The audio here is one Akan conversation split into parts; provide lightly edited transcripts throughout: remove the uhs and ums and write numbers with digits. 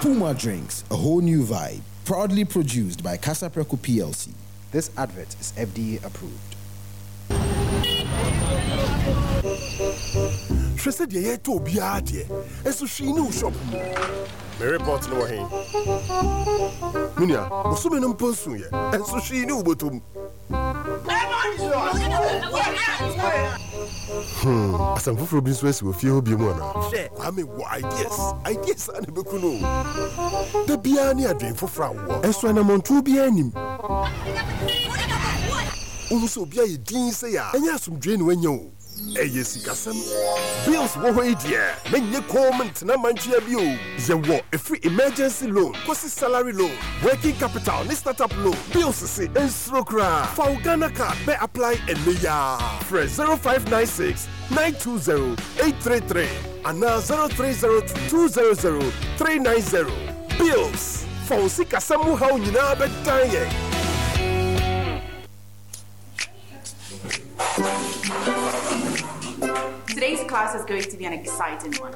Puma Drinks, a whole new vibe. Proudly produced by Kasapreko PLC. This advert is FDA approved. Hwɛ sɛ deɛ yɛretɔ obiara deɛ, nso hwee nni wo shop mu. Me report no wɔ he? Me nua, bosome no mpo nsuiɛ, nso hwee nni wo bɔtɔ mu. Hmm, asɛm foforɔ bi nso asi wɔ fie hɔ bio mu anaa? Hwɛ, Kwame wɔ ideas, ideas a na ɛbɛku no o. Da biara ne adwene foforɔ a wowɔ, nso anammɔntuo biara nnim. Wohu sɛ obi ayɛ dinn sei a, ɛnyɛ asomdwoeɛ na wanya o. Ɛyɛ sikasɛm. Bills wɔ hɔ yi deɛ, menyɛ komm ntena mantwea bio. Yɛwɔ ɛfiri emergency loan kɔsi salary loan, working capital ne startup loan. Bills se nsuro koraa. Fa wo Ghana card bɛ apply ɛnnɛ yi ara. Frɛ 0596 920 833 anaa 0302 200 390. Bills, fa wo sikasɛm mu haw nyinaa bɛdan yɛn. Today's class is going to be an exciting one.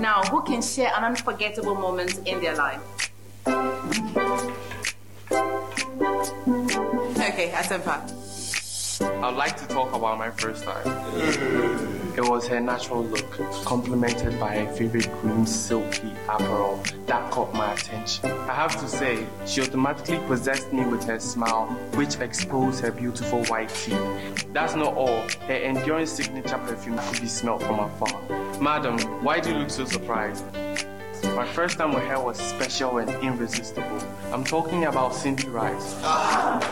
Now, who can share an unforgettable moment in their life? Okay, Asempa. I'd like to talk about my first time. It was her natural look, complemented by her favorite green silky apparel that caught my attention. I have to say, she automatically possessed me with her smile, which exposed her beautiful white teeth. That's not all. Her enduring signature perfume could be smelled from afar. Madam, why do you look so surprised? My first time with her was special and irresistible. I'm talking about Cindy Rice.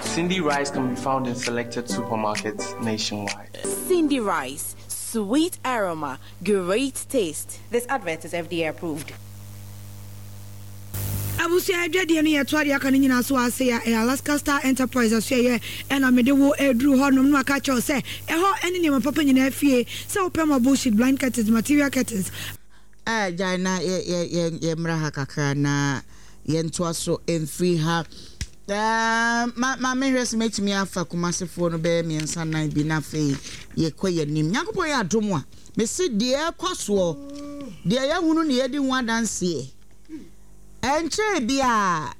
Cindy Rice can be found in selected supermarkets nationwide. Cindy Rice, sweet aroma, great taste. This advert is FDA approved. Abusua adwadie no yɛtoa deɛ aka no nyinaa so ase a ɛyɛ Alaska Star Enterprise asoɛeɛ ɛna mede wo reduru hɔ nom na maka akyerɛ wo sɛ ɛhɔ ɛne nneɛma papa nyinaa fie sɛ wopɛ marble sheet, blind curtains, material curtains, Eh, gyae na yɛ yɛ yɛ yɛmmra ha kakra na yɛntoa so mfiri ha. Eh, ma ma mehwɛ sɛ mɛtumi afa Kumasefoɔ no bɛyɛ mmiɛnsa nan bi na afei yɛkɔ yɛn anim. Nyankopɔn yɛ adom a, mese deɛ ɛkɔ soɔ, deɛ yɛahunu ne yɛdi ho adanseɛ. Ɛnkyɛɛ biara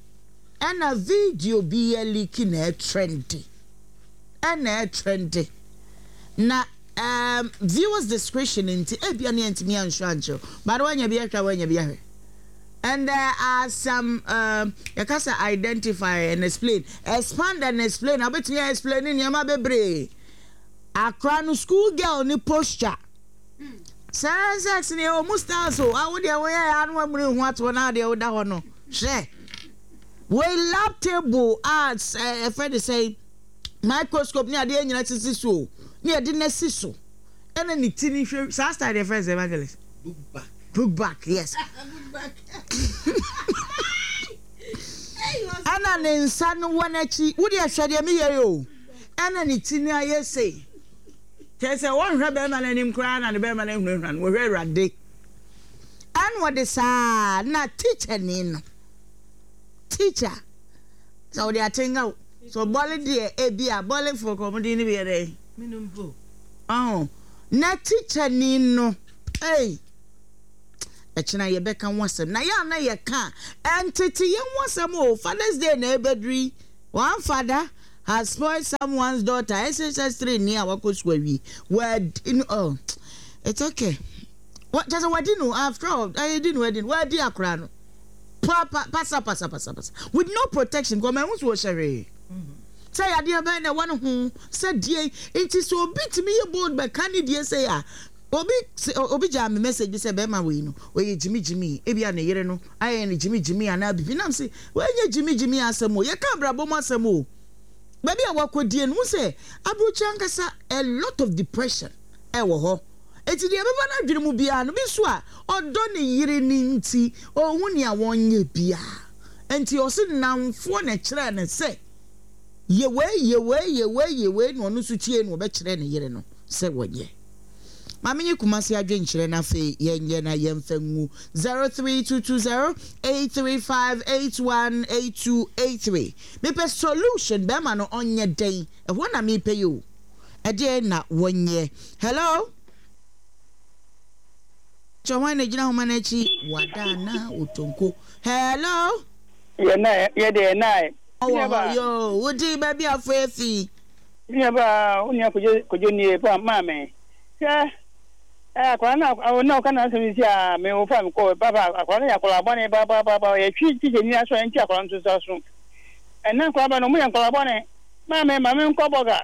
ɛna video bi yɛ leaki na ɛtrɛnde. Ɛna ɛtrɛnde. Na Um viewers discretion nti ebia ne yɛntumi anhwɛ ankyerɛ but woanya bi ahwɛ a woanya bi ahwɛ and there are some um, yɛka sɛ identify and explain expand and explain wobɛtumi a explain nneɛma bebree akora no school girl ne posture sɛ sex ne ɛwɔ mu styles o awo deɛ woyɛ yɛ ano amuni ho atoɔ na adeɛ woda hɔ no hwɛ wei lab table a ɛfɛ de sɛ microscope ne adeɛ nyina sisi so o ne yɛde no asi so ɛna ne ti ne hwɛ saa style deɛ fɛn sɛ evangelist book back book back yes ɛna ne nsa no wɔ n'akyi wo deɛ hwɛ deɛ meyɛ yi o ɛna ne ti no ayɛ sei kyerɛ sɛ wɔnhwɛ bɛrima no anim koraa na ne bɛrima no ahunahuna no wɔhwɛ awurade ɛna ɔde saa na teacher ni no teacher Sɛ wɔde atenga wo. So bɔle deɛ ebi a bɔlefoɔ kɔ wɔn din no bi yɛ dɛn? Menom mpo. Ɔho na tikyani no ei ɛkyena yɛbɛka ho asɛm na yɛ a na yɛka a ɛntete yɛn ho asɛm o Father's Day na ɛbɛduru yi one father has spoiled someone's daughter SHS 3 ni a wakɔ sukuu awie wadi no oh it's okay kyɛ sɛ wadi no after all ɛyɛ di no adi no wadi akora no Pa pa pasa pasa pasa pasa with no protection kɔ mɛhu so ɔhyɛ hwee sɛ yadeɛ bɛn na ɛwɔ ne ho sɛ deɛ nti sɛ obi tumi yɛ bold bɛka ne deɛ sɛ a obi obi gyaa me message bi sɛ bɛrima wei no ɔyɛ gyimi gyimi ebi a ne yere no ayɛ ne gyimi gyimi anaa bibi nam se wɔnyɛ gyimi gyimi asɛm o yɛka abrabɔ mu asɛm o baabi a wakɔdie no wo sɛ aburokyi ankasa a lot of depression ɛwɔ hɔ Enti deɛ ɛbɛba n'adwene mu biara no, bi nso a ɔdɔ ne yere no nti, ɔnhu nea wɔnyɛ biara. Enti ɔse nnamfoɔ na ɛkyerɛɛ no sɛ, yɛ wei, yɛ wei, yɛ wei, yɛ wei, na ɔno nso tiee na ɔbɛkyerɛɛ ne yere no sɛ wɔnyɛ. Ma menye Kumasi adwenkyerɛ na afei yɛnyɛ na yɛmfa ngu 03220 835 818283. Mepɛ solution, bɛrima no ɔnyɛ dɛn? Ɛhɔ na mepɛ yi o. Ɛdeɛn na wɔnyɛ? Hello? Kyɛ hwan na gyina homa no akyi? Wada anaa otonko? Hello. Yɛ na yɛ deɛ na. Ɔwɔ hɔ yoo, wo din baabi a afo efi. Me nua baa, wo nua Kojo Kojo nie pa maame. Hwɛ eh akwadaa no a na ɔka n'asɛm sisi a me wo fa me kɔ papa akwadaa no yɛ akwadaa bɔne papaapa yɛtwe tikya ni aso ɛnti akwadaa no nso aso. Ɛnna nkwadaa ba no ɔmo yɛ nkwadaa bɔne. Maame ma me nkɔ bɔga.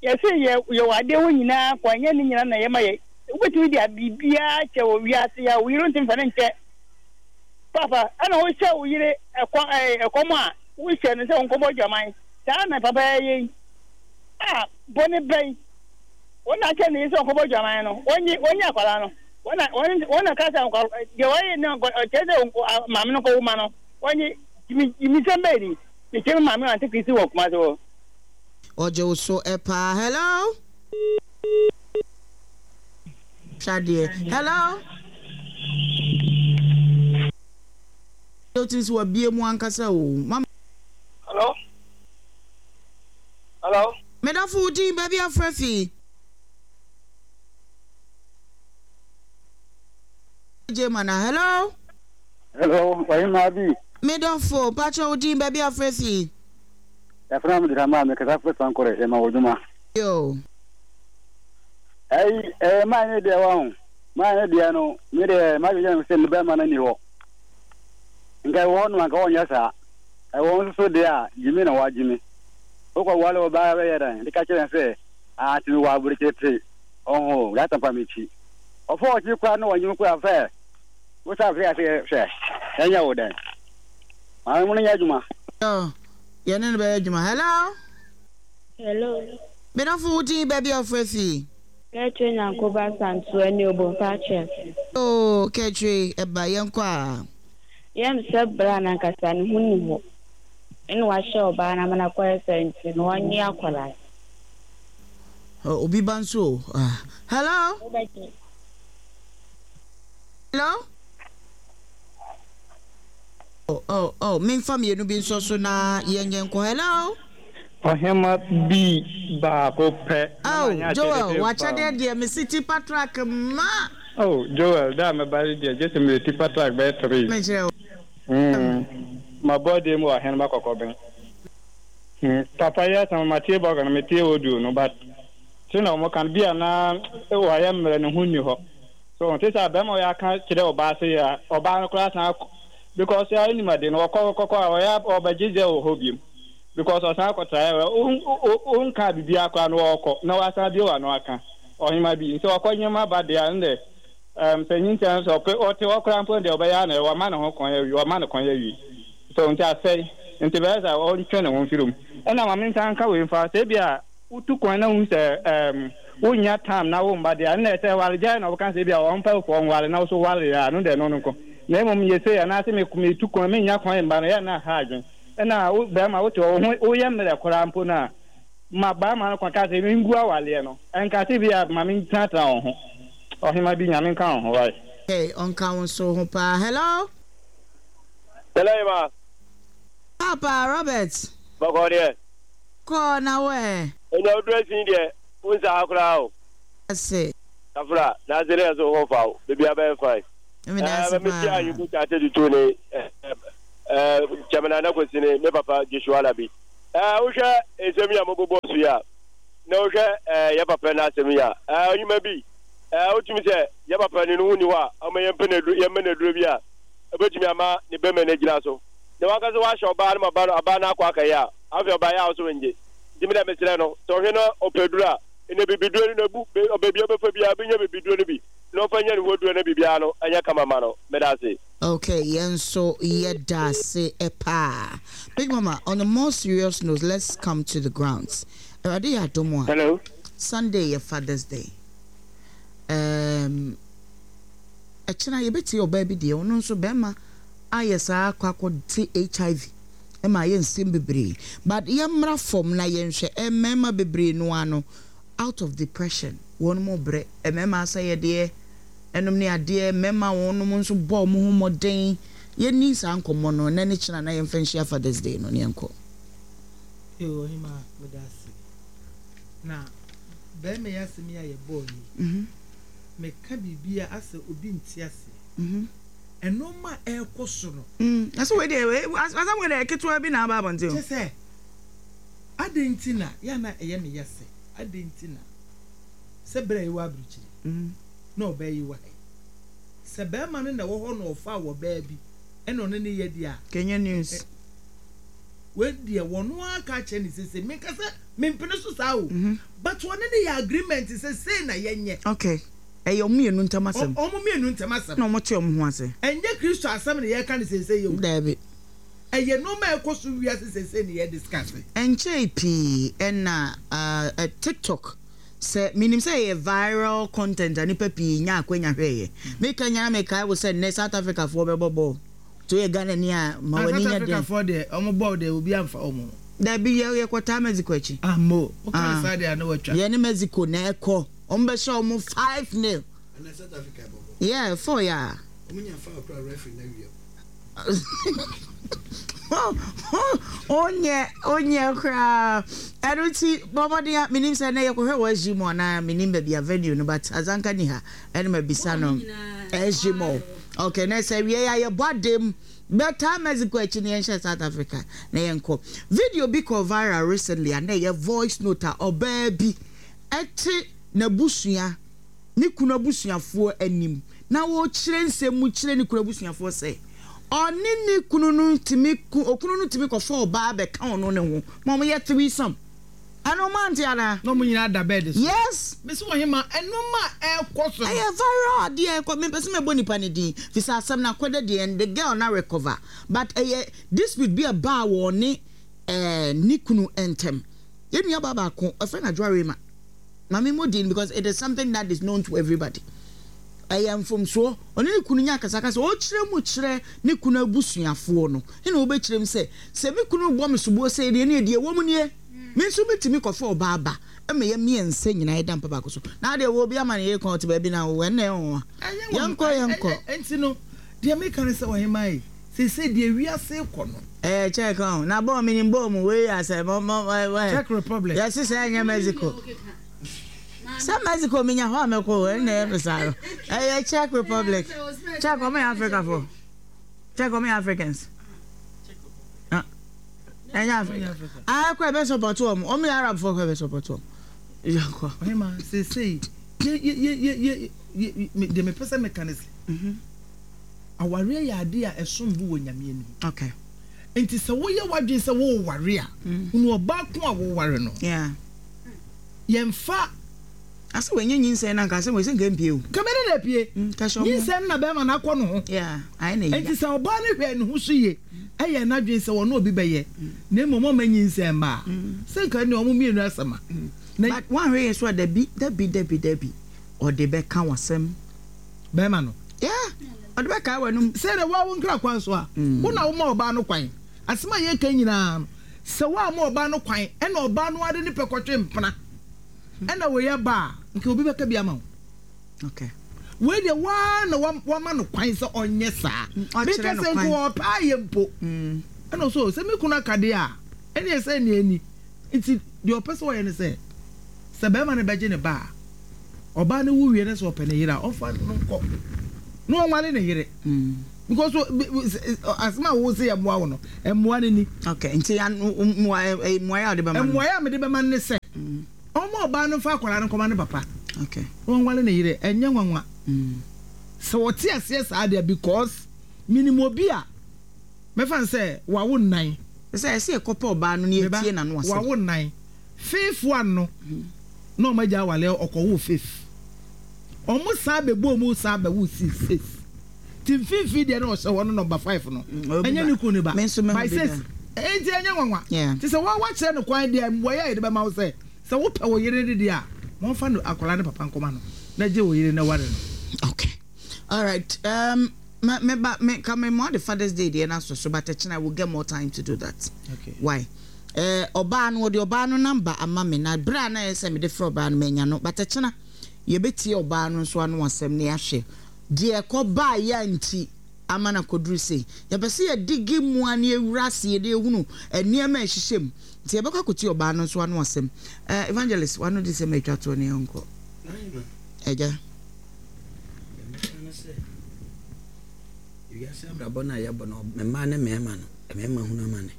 Yɛse yɛ yɛwɔ adeɛ hɔ nyinaa kwa ɛnyɛ ne nyinaa na yɛma yɛ. Wobɛtumi de biribiara kyɛ wɔ wiase a wo yere ntumi fa ne nkyɛ. Papa ɛna wohyɛ wo yere ɛkɔ ɛɛ ɛkɔm a wohyɛ no sɛ ɔnkɔbɔ adwaman. Saa na papa yɛ yi. A bɔne bɛn? Wɔn na akyɛ ne yere sɛ ɔnkɔbɔ adwaman no. Wɔnye wɔnye akwadaa no. Wɔn na wɔn wɔn na ka sɛ nkwa deɛ wɔayɛ no kyerɛ sɛ maame no kɔwo ma no. Wɔnye gyimi gyimisɛm bɛyɛ ni. Mekyɛ me maame ante Kristi wɔ Kumasi hɔ. Ɔgye wo so paa. Hello. Hwɛ adeɛ. Hello. Wotumi sɛ wabie mu ankasa o. Mama. Hello. Hello. Medafo wo din baabi afrɛ fi. Jemana. Hello. Hello, ɔhemaa bi. Me dɔfo, mpakyɛ wo din, baabi a wofrɛ fi? Yɛfrɛ me Dramah, me kasa firi Sankore, yɛma wo dwuma. Yoo. Ɛyi, ɛyɛ maa ne deɛ wahu, maa ne deɛ no, me deɛ m'adwene yɛ me sɛ ne bɛrima no ni hɔ. Nka ɛwɔ hɔ nom anka ɔnyɛ saa. Ɛwɔ nso so deɛ a, gyimi na wagyimi. Wokɔ wale ɔbaa bɛyɛ dɛn? De ka kyerɛ no sɛ, ah, nti mewɔ aburokyire te, ɔho, yɛatampa m'akyi. Ɔfa ɔkyi koraa na wanyim koraa fɛ. Wo sa afei ase hwɛ, yɛnyɛ wo dɛn? Maame mo no nyɛ adwuma. Yo, yɛne no bɛyɛ adwuma. Hello? Hello. Me dɔfo wo din baabi a wofrɛ fi? Kɛtwe Nyankoba Santoa ni Obomfa Akyɛse. Yoo Kɛtwe ɛba yɛnkɔ a. Yɛm sɛ bra no ankasa ne ho nni hɔ ɛna wahyɛ ɔbaa no ama no akɔyɛ saa nti no ɔnye akwadaa no. Obi ba nso o. Hello? Wobɛgye. Hello? Oh, oh, oh, memfa mmienu bi nsɔ so na yɛnyɛ nkɔ. Hello? Ɔhema bi baako pɛ. Oh, Joel, wakyɛdeɛ deɛ mesi tipa truck ma. Oh, Joel, da a mɛba yi deɛ gye sɛ mede tipa truck bɛyɛ three. Mekyerɛ wo. Mabɔ deɛ mu wɔ Ahenema Kɔkɔben. Papa yi asɛm matie bɔga no metie audio no but sɛnea wɔn ka no bi a na wayɛ mmerɛ ne ho nni hɔ. So ɔnte saa? Bɛrima ɔyɛ aka kyerɛ ɔbaa sɛ yɛ a, ɔbaa no koraa san akɔ because ɔnim ade no ɔkɔ kɔkɔ a ɔyɛ ɔbɛgye dɛ wɔ hɔ biom because ɔsan akɔtra yɛ wonka biribiara koraa no ɔkɔ na wasan bio ano aka ɔhema bi nti ɔkɔ nyɛma ba deɛ a ndɛ um, sɛ nyinsɛn sɛ ɔpɛ ɔte hɔ koraa mpo deɛ ɔbɛyɛ ana wama ne ho kwan awie ɔma ne kwan awie so nti asɛe nti bɛyɛ sɛ ɔntwe ne ho mfiri mu ɛna ma mensan nka wei mfa sɛ ebi a Wotu kwan na wohu sɛ ɛɛm wonnya time na wo mma deɛ a, ɛnna sɛ awaregyaeɛ na wɔka sɛ ebia wɔmpɛ wo fɔ nware na wo so ware a, ɛno deɛ ɛno no nko. Na mmom yɛ sei anaase me metu kwan mennya kwan mma no, ɛyɛ a na aha adwene. Ɛnna wo barima wote hɔ wo ho woyɛ mmerɛ koraa mpo no a, ma barima no kwan ka sɛ mengu awareɛ no. Ɛnka sɛ ebia ma mentenatena wo ho. Ɔhema bi, Nyame nka wo ho wai. Hey, ɔnka wo nso ho paa. Hello. Hello, Emma. Papa Robert. Bɔkɔ deɛ. Kɔ na wo ɛ. Enya wo dressing deɛ wo nsa ha koraa o. Ase. Kafra, na ase ne yɛ so ho fa wo, biribiara bɛyɛ fine. Meda ase paa. Me tia Ayuku Kyakye Tutu ne eh, Chairman Nana Kwesi ne me papa Joshua Alabi. Eh, wohwɛ nsɛm yi a mobobɔ so yi a, na wohwɛ eh, yɛ papa no asɛm yi a, eh, ɔnyima bi, eh, wotumi sɛ yɛ papa no ne ho nni hɔ a, ɔma yɛmpɛ no aduro, yɛmmɛ no aduro bi a, ɛbɛtumi ama ne bɛmɛ no agyina so. Na wankasa wahyɛ ɔbaa no ma ba no, abaa no akɔ akɛyɛ a, Afei ɔbaeɛ a ɔse ɔnngye. Nti medeɛ mesrɛ no, sɛ ɔhwɛ na ɔpɛ aduro a, nnɛ bibiduro no na abu, baabi a ɔbɛfa biara ɔbɛnya bibiduro no bi na ɔmfa nyɛ ne ho aduro na biribiara no nyɛ kama mma no. Medase. Okay, yɛn nso yɛda ase paa. Big Mama, on a more serious note, let's come to the grounds. Awurade yɛ adom a, Hello. Sunday yɛ Father's Day. Um, ɛkyena yɛbɛtie ɔbaa bi deɛ, ɔno nso bɛrima ayɛ saa akɔ akɔte HIV. ma ayɛ nsɛm bebree but yɛmmra fam na yɛnhwɛ mmarima bebree no ara no out of depression wɔn mo brɛ mmarima asɛyɛdeɛ ɛnom ne adeɛ mmarima wɔn nom nso bɔ wɔn ho mmɔden yɛnni saa nkɔmmɔ no ɛnɛ ne kyena na yɛmfa nhyia Father's Day no ne yɛnkɔ. Yoo ɔhemaa meda ase. Na bɛrima yi asɛm yi a yɛbɔɔ yi. Meka biribi a asɛ obi nte aseɛ. Nnoɔma a ɛrekɔ so no. Na sɛ wei deɛ, asɛm wei deɛ ketewa bi na aba abɔnten o. Kyerɛ sɛ, adɛn nti na, yɛ a na ɛyɛ me ya sɛ, adɛn nti na sɛ berɛ a yɛwɔ aburokyire na ɔbaa yi wɔ ha yi, sɛ barima no na ɛwɔ hɔ na ɔfaa ɔbaa bi ɛna ɔne no yɛ deɛ a. Kenya news. Wei deɛ wɔn ara ka akyerɛ no sese, menka sɛ mempene so saa o, but ɔne no yɛ agreement sɛ sei na yɛnyɛ. Okay, ɛyɛ wɔn mmienu ntam asɛm. Wɔn mmienu ntam asɛm. Na wɔte wɔn ho ase. Ɛnyɛ Kristo asɛm na yɛreka no seesei o. Daabi. Ɛyɛ nneɛma a ɛkɔ so wiase seesei na yɛ discuss. Ɛnkyɛe pii na TikTok, sɛ menim sɛ ɛyɛ viral content a nnipa pii nyaa akwanya hwɛeɛ. Meka nyinaa mekae wo sɛ nnɛ South Africafoɔ bɛbɔ bɔɔl. Nti woyɛ Ghanani a ma w'ani South nyɛ den. Africafoɔ deɛ wɔn bɔɔl deɛ obi amfa wɔn ho. Dabi yɛ yɛkɔtaa Mexico akyi. Ah mo, woka no saa deɛ a na watwa. Yɛne Mexico na ɛkɔ. Wɔn bɛhyɛ wɔn 5-nil. Ɛnɛ South Africa bɔ bɔɔl. Yeah, 4 yeah. Wɔn nya foul koraa referee na awia mu. Onyɛ onyɛ koraa. Ɛno nti bɔ mmɔden a menim sɛ ɛnɛ yɛkɔhwɛ wɔ SG Mall anaa menim baabi a venue no but Azanka ni ha ɛna mabisa no SG Mall. Okay na sɛ wiei a yɛbɔ adem bɛtaa Mexico akyi na yɛnhyɛ South Africa na yɛnkɔ. Video bi kɔɔ viral recently a na ɛyɛ voice note a ɔbaa bi te n'abusua, ne kunu abusuafoɔ anim na ɔrekyerɛ nsɛm mu kyerɛ ne kunu abusuafoɔ sɛ ɔne ne kunu no tumi okunu no tumi kɔfa ɔbaa bɛka ɔno ne ho ma wɔyɛ threesome. Ɛno mo ante anaa? Na ɔmo nyinaa da bed so. Yes. Mese ɔhema ɛnoɔma a ɛɛkɔ so no. Ɛyɛ viral adeɛ ɛkɔ mempɛ sɛ mɛbɔ nipa no din fisɛ asɛm no akɔda deɛ and the girl no arecover but ɛyɛ dispute bi a ɛbaa wɔ ɔne ɛɛ ne kunu ntɛm. Yɛn nua baa baako ɔfrɛ no Adwoa Rema ma me mmɔ din because it is something that is known to everybody. Ɛyɛ mfomsoɔ ɔne ne kunu nya akasakasa ɔkyerɛ mu kyerɛ ne kunu abusuafoɔ no ɛna ɔbɛkyerɛ mu sɛ sɛ me kunu rebɔ me soboɔ sei deɛ ɛneɛ deɛ ɛwɔ mu nie. Me nso mɛtumi kɔfa ɔbaa ba ma yɛ mmiɛnsa nyinaa yɛda mpa baako so. Na adeɛ wɔ obi ama ne yere kɔn ɔte baabi na wo ɛnna ɛyɛ nwanwa. Yɛnkɔ yɛnkɔ. Ɛnti no deɛ meka ne sɛ ɔhemaa yi seesei deɛ wiase rekɔ no. Ɛyɛ Czech ɔn na bɔɔl menim bɔɔl mu wei yɛ asɛ mɔ mɔ ɛ Czech Republic. Yɛse sɛ ɛnyɛ Mexico. Sɛ Mexico menya hɔ a mɛkɔ o ɛnna ɛyɛ me saa no. Ɛyɛ Czech Republic. Czech ɔmo yɛ Africa foɔ. Czech ɔmo yɛ Africans. Ɛnyɛ Africa. Ah, ɛkɔ ɛbɛ support wɔn. Wɔn yɛ Arab fo kɔ ɛbɛ support wɔn. Yɛnkɔ. Ɔhema seesei yɛ yɛ yɛ yɛ yɛ yɛ deɛ mepɛ sɛ meka ne sɛ mhm. awareɛ yɛ adeɛ a ɛsom bo wɔ Nyame anim. Okay. Nti sɛ woyɛ w'adwene sɛ woware a, mm. hunu ɔbaa ko a woware no. Yeah. Yɛmfa Asɛ wanya nyinsɛn no anka asɛm wei sɛ nka mpie o. Nka bɛdɛ na apue. Nyinsɛn no na bɛrima no akɔ ne ho. Enti sɛ ɔbaa no hwɛɛ ne ho so yie, ɛyɛɛ n'adwene sɛ ɔne obi bɛyɛ, na mmom ɔmma nyinsɛn mma a, sɛ nka ɛnneɛ wɔn mmienu asɛm a. Na. But woanhwɛ yie nso a dabi dabi dabi dabi ɔde bɛka w'asɛm. Bɛrima no. Yeah, ɔde bɛkae w'anum. Sɛ dɛ woa wo nkra kwan so a, wo na woma ɔbaa no kwan. Asɛm a yɛreka yi nyinaa no, sɛ woamma ɔbaa no kwan, ɛna ɔbaa no ara de ne pɛ kɔtwe mpena. Ɛna wei aba a, nka obi bɛka bi ama wo. Okay. Wei deɛ waa na wama no kwan sɛ ɔnyɛ saa. Mm, ɔkyerɛ no kwan. Meka sɛ nka ɔpɛ ayɛ mpo. Mm. Ɛna ɔsɛ sɛ me kunu aka deɛ a, ɛne ɛsɛ ne ani. Nti deɛ ɔpɛ sɛ ɔyɛ ne sɛ, sɛ bɛrima no bɛgye ne ba a, ɔbaa no wu wie no sɛ ɔpɛ ne yere a, ɔmfa no nkɔ. Na ɔnwale ne yere. Mm. Because asɛm a wo se yɛmmoa wo no, mmoa no ni. Okay, nti mmuaeɛ a wode bɛma no? Mmuaeɛ a mede bɛma no ne sɛ, ɔmma ɔbaa no mfa akwadaa no nkɔma ne papa. Okay. Na ɔnwale ne yere, ɛnyɛ nwanwa. Sɛ ɔte aseɛ saa deɛ because menim obi a mɛfa no sɛ wawo nnan. Sɛ ɛsɛ yɛkɔpɛ ɔbaa no na yɛtie n'ano asɛm. Wawo nnan. Fifth one no, na wɔn agya awale ɔkɔwoo fifth. Wɔn san bɛbɔɔ mu san bɛwoo six. Ti mfimfini deɛ na ɔhyɛ hɔ no number five no ɛnyɛ ne kunu ne ba by six enti ɛnyɛ nwanwa te sɛ wɔn wakyerɛ no kwan deɛ mmuaeɛ a yɛde bɛma wo sɛ sɛ wopɛ wo yere no deɛ a wɔmfa no akwadaa ne papa nkɔma no na gye wo yere na ware no. Okay alright um, me me ba me ka me mo de Father's Day deɛ na so so but ɛkyena I will get more time to do that. Okay. Why? Eh, ɔbaa no wɔde ɔbaa no number ama me na bere a na ɛyɛ sɛ mede frɛ ɔbaa no manya no but ɛkyena yɛbɛtie ɔbaa no nso ano asɛm na yɛahwɛ Deɛ ɛkɔbaeɛ a nti ama no akɔduru sei. Yɛpɛ sɛ yɛdigi mu ara na yɛwura aseɛ na yɛhunu nneɛma a ɛhyehyɛ mu. Nti yɛbɛkɔ akɔtie ɔbaa no nso ano asɛm. Eh, Evangelist, w'ano de sɛm a ɛtwa toɔ no yɛnkɔ. Agya. Wiase abrabɔ no a yɛbɔ no, mmaa ne mmarima no, mmarima hunu amane.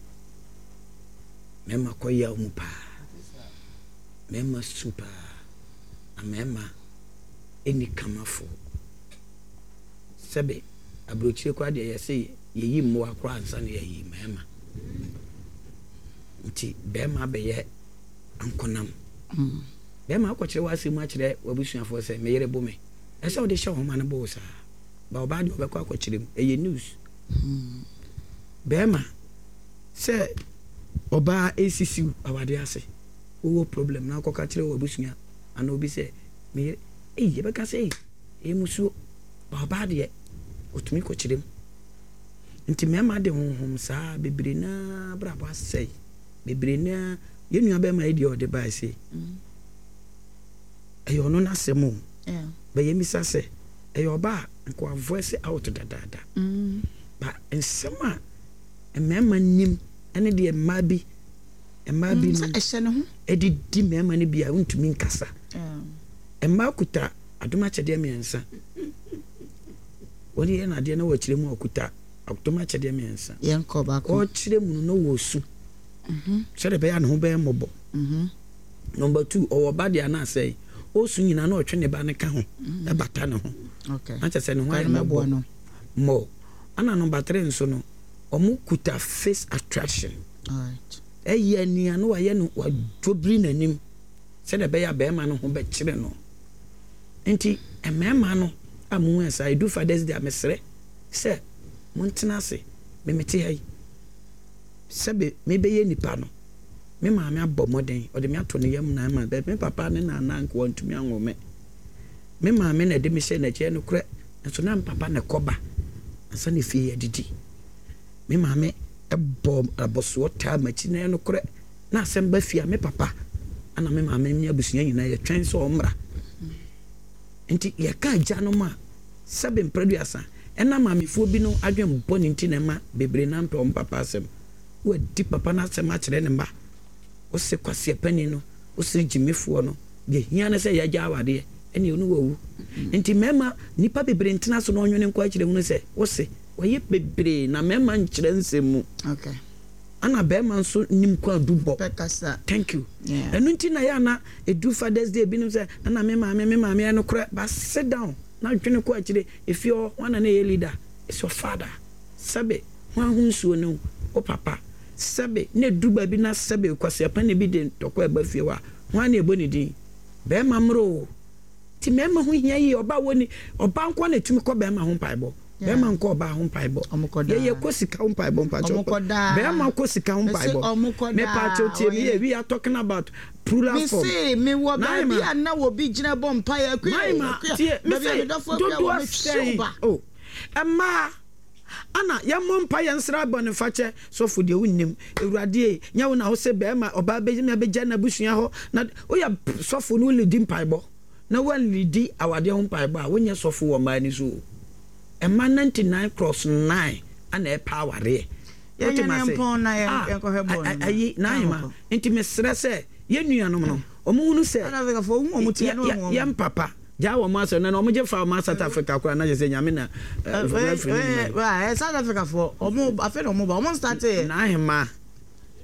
Mmarima kɔ yaw mu paa. Mmarima su paa. Na mmarima nni kamafoɔ. Sɛbe aburokyire koraa deɛ yɛse yɛyi mmoa koraa ansa na yɛayi mmarima. Nti barima abɛyɛ ankonam. Barima akɔkyerɛ w'asɛm akyerɛ w'abusuafoɔ sɛ me yere bo me. Ɛsɛ wode hyɛ wo ho ma no bo wo saa. Ba ɔbaa deɛ ɔbɛkɔ akɔkyerɛ mu. Ɛyɛ news. Barima sɛ ɔbaa resisi wo awadeɛ ase, wowɔ problem na wokɔka kyerɛ w'abusua anaa obi sɛ me yere, ei yɛbɛka sɛ ei ɛyɛ musuo. Ba ɔbaa deɛ ɔtumi kɔkyerɛ mu. Nti mmarima de honhom saa bebree no ara abrabɔ asɛe. Bebree no ara, yɛn nua bɛrima yi deɛ ɔde bae sei, ɛyɛ ɔno n'asɛm o. But yɛmmisa sɛ, ɛyɛ ɔbaa a, nka wa voice out dadaada. But nsɛm a mmarima nim ne deɛ mmaa bi, mmaa bi nom de di mmarima no bi a wontumi nkasa. Mmaa kuta adom akyɛdeɛ mmiɛnsa. Wɔn yɛ no adeɛ na wɔkyerɛ mu a ɔkuta adom akyɛdeɛ mmiɛnsa. Ɔkyerɛ mu no na ɔresu sɛdeɛ ɛbɛyɛ a ne ho bɛyɛ mmɔbɔ. Number two, ɔwɔ ba deɛ ana asɛe. Ɔresu nyinaa na ɔtwe ne ba no ka ho bata ne ho. Na kyerɛ sɛ ne ho ayɛ mmɔbɔ more. Ɛna number three nso no, wɔn kuta face attraction. Ɛyɛ nea na wayɛ no wadwobiri n'anim sɛdeɛ ɛbɛyɛ a barima no ho bɛkyere no. Nti mmarima no a mo hu saa, ɛdu Father's Day a mesrɛ sɛ montena ase. Me mete ha yi, sɛbe mebɛyɛ nipa no, me maame abɔ mmɔden, ɔde me ato ne yam 9 months, but me papa ne nana nka wantumi anwo me. Me maame na ɛde me hyɛɛ n'akyi, ɛyɛ nokorɛ, nanso na me papa na ɛkɔ ba ansa na efie yɛadidi. Me maame bɔɔ abɔsoɔ taa m'akyi, na ɛyɛ nokorɛ, na asɛm ba fie a, me papa na me maame ne abusua nyinaa yɛtwɛn sɛ ɔmmra. Nti yɛka agyanom a, sɛbe mprɛduasa, ɛnam maamefoɔ binom adwen bɔne nti na ɛma bebree no ara mpɛ wɔn papa asɛm. Wadi papa no asɛm akyerɛ ne mma. Wose kwasia panin no, wose gyimifoɔ no, deɛ hia ne sɛ yɛagya awadeɛ, ɛneɛ ɔne wawu. Nti mmarima, nnipa bebree ntena ase na ɔnwene nkɔ akyire hunu sɛ, wose wɔyɛ bebree na mmarima nkyerɛ nsɛm mu. Ana barima nso nim kwaadu bɔ. Thank you. Ɛno nti na yɛ ana ɛdu Father's Day binom sɛ, ɛna me maame, me maame, ɛyɛ nokorɛ, but sit down na dwene kɔ akyire, efie hɔ, hwan na na ɛyɛ leader? It's your father. Sɛbe, hwan ho nsuo ne wo papa? Sɛbe, na ɛduru baabi na sɛbe kwaseapani bi de ntɔkwa reba fie hɔ a, hwan na ɛbɔ ne din? Barima mmrɛ oo. Nti mmarima ho hia yie. Ɔbaa wɔnni, ɔbaa nko ara na ɛtumi kɔ barima ho mpaebɔ. Barima nkɔ ɔbaa ho mpaebɔ. Yɛ yɛkɔ sika ho mpaebɔ mpakyɛw. Barima kɔ sika ho mpaebɔ. Mepakyɛw tie me yie, we are talking about plural form. Mese mewɔ baabi a na obi gyina bɔ mpaeɛ akua Naima, tie, mese dodoɔ sɛn, oh. Mmaa, ana yɛmmɔ mpaeɛ nsrɛ bɔnefakyɛ? Sɔfo deɛ wonnim. Awurade ei, nyɛ wo na wose bɛɛma, ɔbaa bɛgyina bɛgya n'abusua hɔ na woyɛ sɔfo na wolidi mpaebɔ na woanlidi awadeɛ ho mpaebɔ a, wonyɛ sɔfo wɔ mmaa ani so o. Mmaa 99 cross 9 ana ɛpɛ awareɛ. Wote m'ase? Ah, ayi, Naima, nti mesrɛ sɛ yɛn nuanom no, wɔhunu sɛ yɛn papa Gyaa wɔn asɛm na na wɔn gye fa wɔn South Africa koraa na kyerɛ sɛ nyame na referee ne nyinaa. Ɛɛ South Africa foɔ wɔn afei na wɔn ba wɔn start yɛ. N'ahema.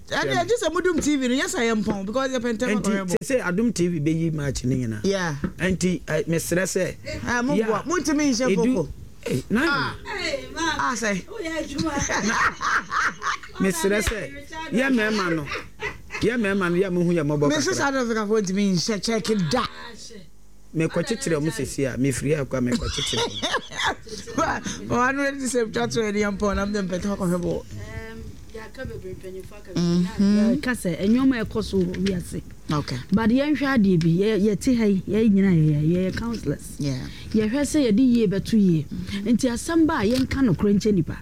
Ɛdi ɛgye sɛ mo dum TV no yɛ sɛ yɛ mpɔn because yɛ pɛ ntɛm akɔhwɛ bɔ. Nti sɛ Adum TV bɛ yi match ne nyinaa. Yeah. Nti mesrɛ sɛ. Ɛɛ mo boa mo ntumi nhyɛ foko. N'ahema. Ah sɛ. Mesrɛ sɛ yɛ mɛɛma no yɛ mɛɛma no yɛ mo hu yɛ mɔbɔ kakra. Mesi South Africa foɔ ntumi nhyɛ check da. Mekɔkyekyere wɔn seesei a, mefiri ha kɔ a, mekɔkyekyere wɔn. Ɔha no ɛde sɛ twa to ɛde yɛn pɔn na mede mpɛtɛ akɔhwɛ bɔ. Yɛka sɛ nneɛma ɛkɔ so wɔ wiase. Okay. But yɛnhwɛ adeɛ bi, yɛte ha yi, yɛn nyinaa yɛyɛ yɛyɛ councillors. Yɛhwɛ sɛ yɛde yie bɛto yie. Nti asɛm ba a yɛnka nokorɛ nkyɛ nipa.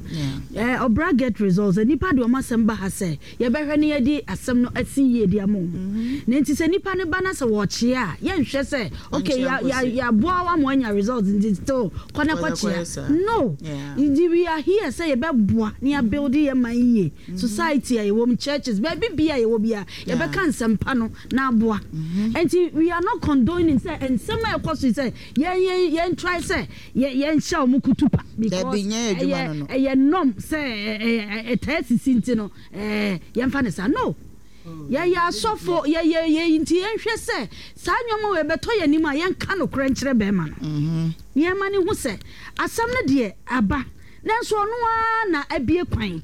Ɔbra get results, nipa de wɔn asɛm ba ha sɛ Yɛbɛhwɛ na yɛde asɛm no asi yie de ama wɔn. Na nti sɛ nipa no ba na sɛ wɔrekyea a, yɛnhwɛ sɛ okay ya ya yɛaboa wo ama woanya results nti still kɔ na kɔkyea. No! Nti we are here sɛ yɛbɛboa na yɛabuild yɛn man yie. Society a yɛwɔ mu, churches, baabi biara a yɛwɔ biara, yɛbɛka nsɛmpa no na. Na aboa. Nti we are not condoning sɛ nsɛm a ɛkɔ so yi sɛ yɛn yɛn yɛn try sɛ yɛ yɛn hyɛ wɔn kutupa because Dabi, nyɛ yɛn adwuma ɛyɛ no no. ɛyɛ norm sɛ ɛ ɛ ɛtaa sisi nti no ɛɛ yɛnfa no saa no. Yɛyɛ asɔfo yɛyɛ yɛ nti yɛnhwɛ sɛ saa nneɛma wei ɛbɛtɔ yɛn anim a yɛnka nokorɛ nkyerɛ bɛrima no. Na yɛma no hu sɛ asɛm no deɛ aba nanso ɔno ara na abue kwan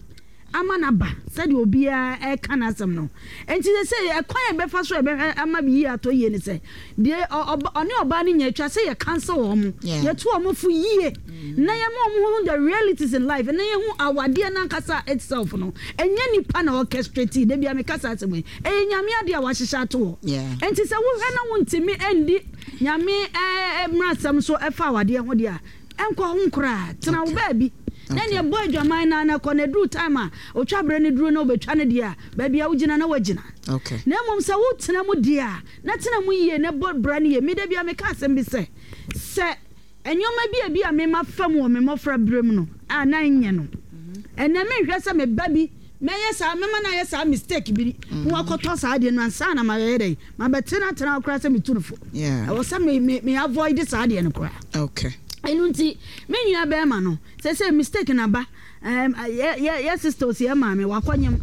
ama no aba sɛdeɛ obiara reka n'asɛm no. Enti seesei ɛkwan a yɛbɛfa so a yɛbɛhwɛ ama yie atɔ yie ne sɛ, deɛ ɔne ɔbaa no nya atwa sɛ yɛ counsel wɔn, yɛtu wɔn fo yie na yɛma wɔn hu the realities in life na yɛhu awadeɛ no ankasa itself no, ɛnyɛ nipa na orchestrate, da biara meka saa asɛm yi, ɛyɛ Nyame adeɛ a wahyehyɛ ato hɔ. Enti sɛ wohwɛ na wontumi ndi Nyame mmaransɛm so ɛfa awadeɛ ho deɛ a, Nkɔ ho koraa. Tena wo baabi. Na neɛ bɔ adwaman no ara na kɔ na ɛduru time a otwa berɛ no duru na wobɛtwa no deɛ a, baabi a wogyina na woagyina. Na mmom sɛ wotena mu deɛ a, na tena mu yie na bɔ bra no yie. Me da biara meka asɛm bi sɛ, sɛ nneɛma bi a ebia me mafa mu wɔ me mmɔfra berɛ mu no a na ɛnyɛ no, ɛnnɛ menhwɛ sɛ me ba bi mɛyɛ saa, mɛma no ayɛ saa mistake bi na wakɔtɔ saa adeɛ no ansa na mayɛ dɛn, mabɛtenatena hɔ koraa sɛ metu no fo. Ɛwɔ sɛ me me me avoid saa adeɛ no koraa. Okay. Ɛno nti, me nua bɛrima no, sɛsɛ mistake na ba, um, yɛ yɛ yɛ sister osi yɛ maame wakɔnyem.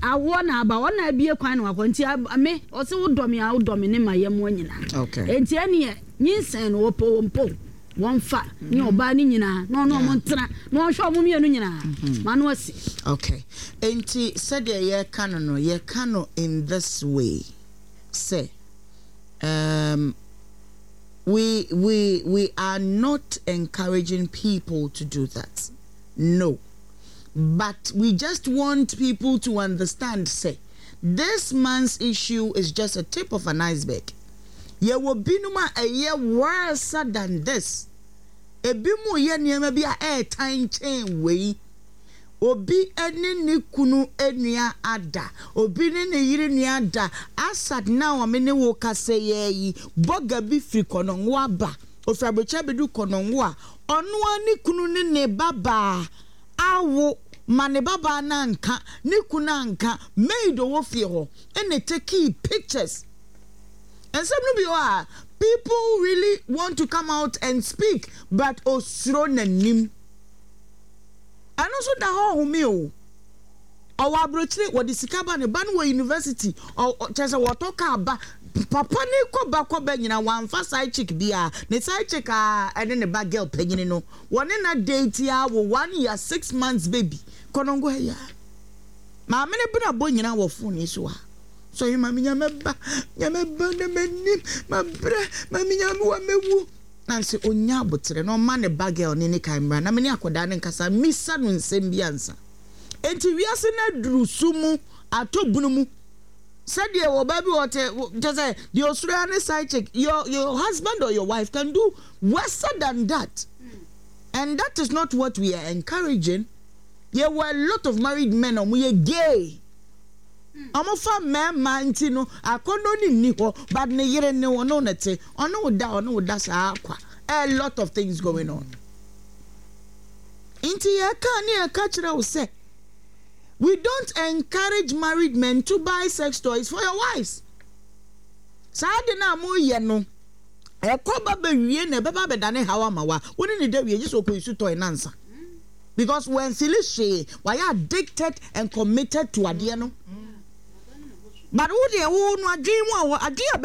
Awoɔ na aba, ɔna abie kwan na wakɔ. Nti me, ɔse wodɔ me a wodɔ me ne ma yɛ mmoa nyinaa. Okay. Nti ɛneɛ, nyinsɛn no wɔpɛ wɔn po. Wɔmfa ne ɔbaa no nyinaa na ɔne wɔn ntena na ɔnhwɛ wɔn mmienu nyinaa ma no asi. Okay. Enti sɛdeɛ yɛreka no no, yɛka no in this way sɛ, um, we, we, we are not encouraging people to do that. No. But we just want people to understand sɛ, this man's issue is just a tip of an iceberg. Yɛwɔ binom a ɛyɛ worse than this. Ebinom reyɛ nneɛma bi a ɛretan kyɛn wei. Obi ne ne kunu nua ada, obi ne ne yere nua ada. Asat now a me ne wo kasa yi ara yi, bɔga bi firi Kɔnɔngo aba. Ofiri Aburokyire abɛduru Kɔnɔngo a, ɔno ara ne kunu ne ne babaa awo ma ne babaa no anka, ne kunu anka, maid ɔwɔ fie hɔ na ɛtekii pictures. Nsɛm no bi wɔ hɔ a people really want to come out and speak but osuro n'anim. Ɛno nso da hɔ ɔhome o. Ɔwɔ aburokyire wɔde sika ba ne ba no wɔ university ɔ kyerɛ sɛ wɔtɔ kaa ba papa ne kɔ ba kɔ ba nyinaa wɔamfa side chick biara ne side chick a ɛne ne ba girl panyini no wɔne na date a wɔ 1 year 6 months baby kɔnɔngo ha yi a maame ne bena bɔ nyinaa wɔ phone yi so a. Sɔre ma me nyame ba, nyame ba na m'anim, mabrɛ, ma me nyame wa mɛwu. Na sɛ ɔnya aboterɛ na ɔma ne ba girl no ne kan mmra na me ne akwadaa no nkasa mmisa no nsɛm bi ansa. Enti wiase no aduru su mu, atɔ bunu mu. Sɛdeɛ ɔbaa bi wɔ te, kyɛ sɛ deɛ ɔsuro ara ne side chick, your husband or your wife can do worse than that. And that is not what we are encouraging. Yɛwɔ a lot of married men a wɔyɛ gay. Ɔmo fa mmarima nti no akɔnnɔ no nni hɔ but ne yere ne ɔne wo te ɔne wo da ɔne wo da saa kwa a lot of things going on nti yɛka ne yɛka kyerɛ wo sɛ we don't encourage married men to buy sex toys for your wives. Saa de no a moyɛ no ɛkɔ ba bɛwie na ɛbɛba abɛdane haw ama wa wo ne ne da wie gye sɛ ɔkɔyi so toy nansa because wɔnfili hwee wayɛ addicted and committed to adeɛ no but wo deɛ wo no adwene mu a adwene a.